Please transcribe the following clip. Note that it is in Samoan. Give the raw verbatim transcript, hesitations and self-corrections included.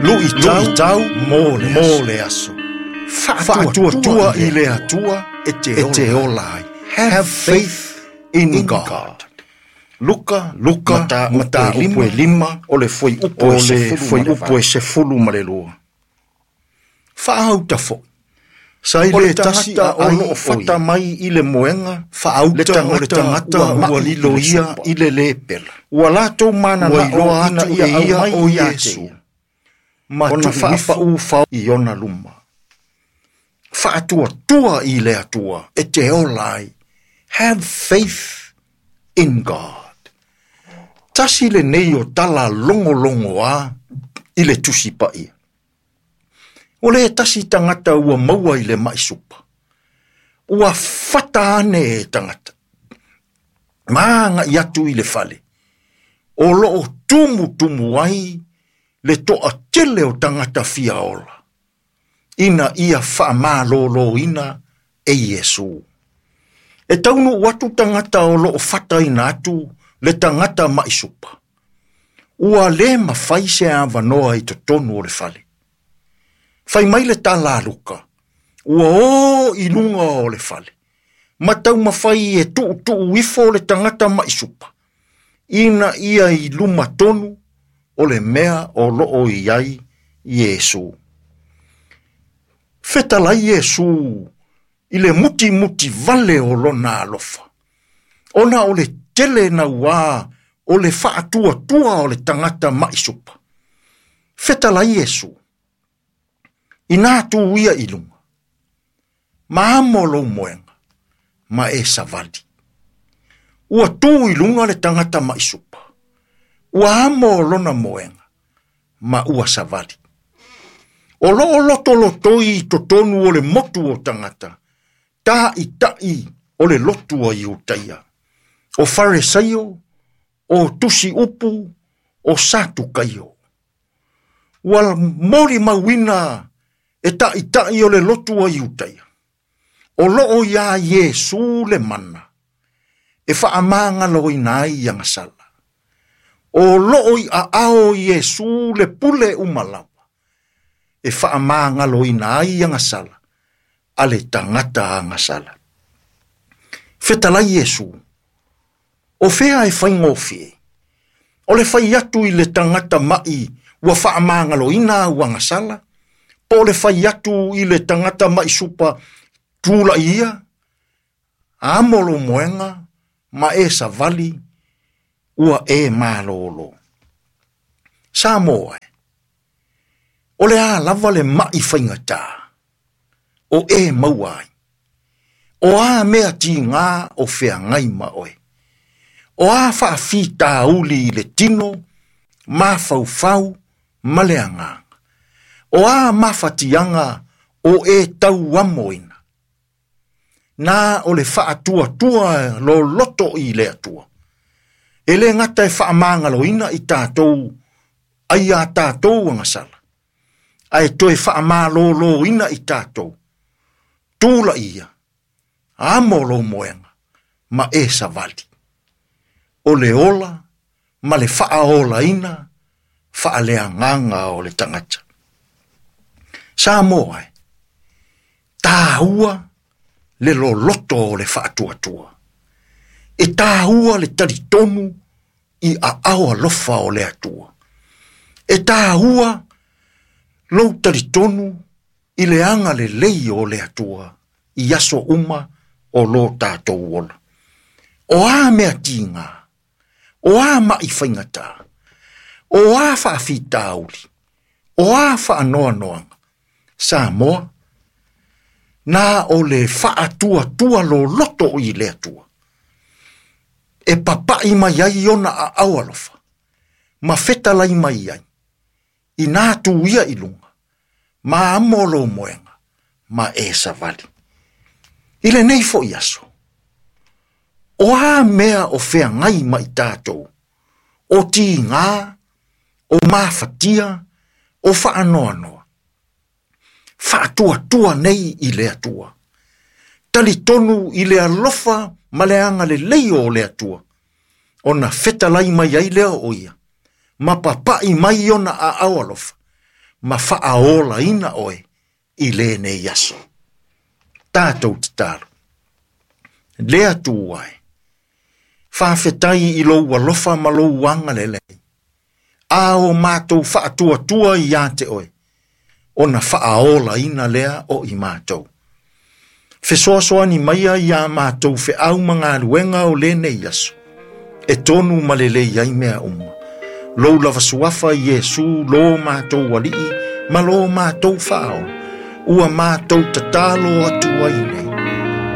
Luʻitau mo le aso. Faatuatua i le Atua e te ola ai. Have faith in God. Luka, Luka, mataupu e lima, o le fuaiupu e sefulu ma le lua. Faauta foʻi. Sa i le tasi o loo fata mai i le moega, faauta o le tagata ua lilo ia i le lepela. Ua latou mananao atu e ia o Iesu, ma ona faapaufau i ona luma. Faatuatua i le Atua e te ola ai. Have faith in God. Tasi lenei o tala logologoa i le Tusi Paia. O le tasi tagata ua maua i le mai supa. Ua fata ane e tagata. Ma agai atu i le fale. O loo tumutumu ai le toatele o tagata fia ola. Ina ia faamaloloina e Iesu. E taunuu atu tagata o loo fataina atu le tagata mai supa. Ua le mafai se avanoa i totonu o le fale. Fai mai le tala a Luka, ua o i luga o le fale. Ma taumafai e tuutuu ifo le tagata mai supa. Ina ia i luma tonu o le mea o loo i ai Iesu. Fetalai Iesu i le mutimuti vale o lona alofa. Ona o le tele naua o le faatuatua o le tagata mai supa. Fetalai Iesu, ina tu ia i luga, ma amo lou moega, ma e savali. Ua tu i luga le tagata mai supa. Ua amo lona moega, ma ua savali. O loo lotolotoi i totonu o le motu o tagata, taʻitaʻi o le lotu a Iutaia. O Faresaio, o Tusi Upu, o Satukaio. Ua molimauina e taʻitaʻi o le lotu a Iutaia. O loo iā Iesu le mana, e faamagaloina ai agasala. O loo i aao Iesu le pule uma lava, e faamagaloina ai agasala, a le tagata agasala. Fetalai Iesu, o fea e faigofie, o le fai atu i le tagata mai ua faamagaloina au agasala, po o le fai atu i le tagata mai supa tulaʻi ia, amo lou moega ma e savali ua e malolo. Samoa e, o le a lava le mai faigata, o e maua ai. O a mea tiga o feagai ma oe. O a faafitauli i le tino, mafaufau ma le agaga. O a mafatiaga o e tauamoina. Na o le faatuatua loloto i le Atua. E le gata e faamagaloina i tatou ai a tatou agasala. Ae toe faamaloloina i tatou. Tulaʻi ia, amo lou moega, ma e savali. O le ola ma le faaolaina faaleagaga o le tagata. Samoa e, taua le loloto o le faatuatua. E taua le talitonu i aao alofa o le Atua. E taua lou talitonu i le agalelei o le Atua i aso uma o lo tatou ola. O a mea tiga, o a mai faigata, o a faafitauli, o a faanoanoaga, Samoa, na o le faatuatua loloto i le Atua. E papaʻi mai ai ona aao alofa, ma fetalai mai ai, ina tu ia i luga, ma amo lou moega, ma e savali. I lenei foʻi aso, o a mea o feagai ma i tatou, o tiga, o mafatia, o faanoanoa. Faatuatua nei i le Atua. Talitonu i le alofa ma le agalelei o le Atua. Ona fetalai mai ai lea o ia, ma papaʻi mai ona aao alofa, ma faaolaina oe i lenei aso. Tatou tatalo. Le Atua e, faafetai i lou alofa ma lou agalelei. A o matou faatuatua ia te oe, ona faaolaina lea o i matou. Fesoasoani maia ia matou feau ma galuega o lenei aso, e tonu ma lelei ai mea uma. Lou lava suafa Iesu lo matou alii ma lo matou faaola, ua matou tatalo atu ai nei.